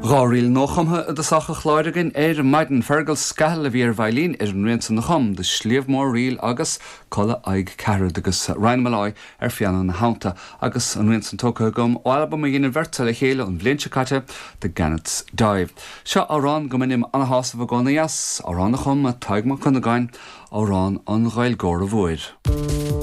Ríl nuachumtha i dtosach an chláir againn ar maidin. Fergal Scahill a bhí ar veidhlín ar an rian san a chum The Sliabh Mór Reel agus Codladh Oidhche Ceathairead agus Ryan Molloy ar phianó ina theannta agus an rian san tógtha agam ó albam a dhein an bheirt le chéile an bhliain seo caite, The Gannet's Dive. Seo amhrán go mbainim ana-shásamh i gcónaí as, amhrán a chum Tadhg Mac Dhonnagáin, Amhrán an Ghaeilgeora Mhóir.